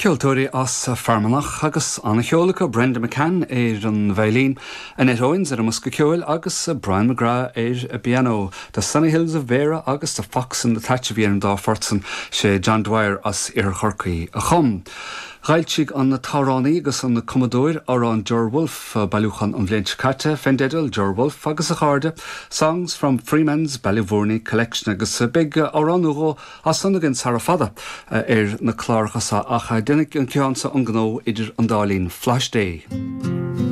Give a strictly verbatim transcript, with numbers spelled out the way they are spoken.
Ceoltóirí as Fear Manach agus an-cheol acu Brenda McCann ar an veidhlín, Annette Owens ar an mbosca ceoil agus Brian McGrath ar an bpianó. The Sunny Hills of Beara agus The Fox in the Thatch a bhí ar an dá phort san sé John Dwyer as Iarthar Chorcaí a chum. D'fhoilsigh an t-amhránaí agus an cumadóir amhrán Ger Wolfe bailiúchán an bhliain seo caite fén dteideal Ger Wolfe agus a chairde, Songs from Freeman's Ballyvourney Collection agus beidh amhrán nó dhó as san againn sara fada ar na cláracha seo ach déanfaidh an ceann seo an gnó idir an dá linn Flash Day.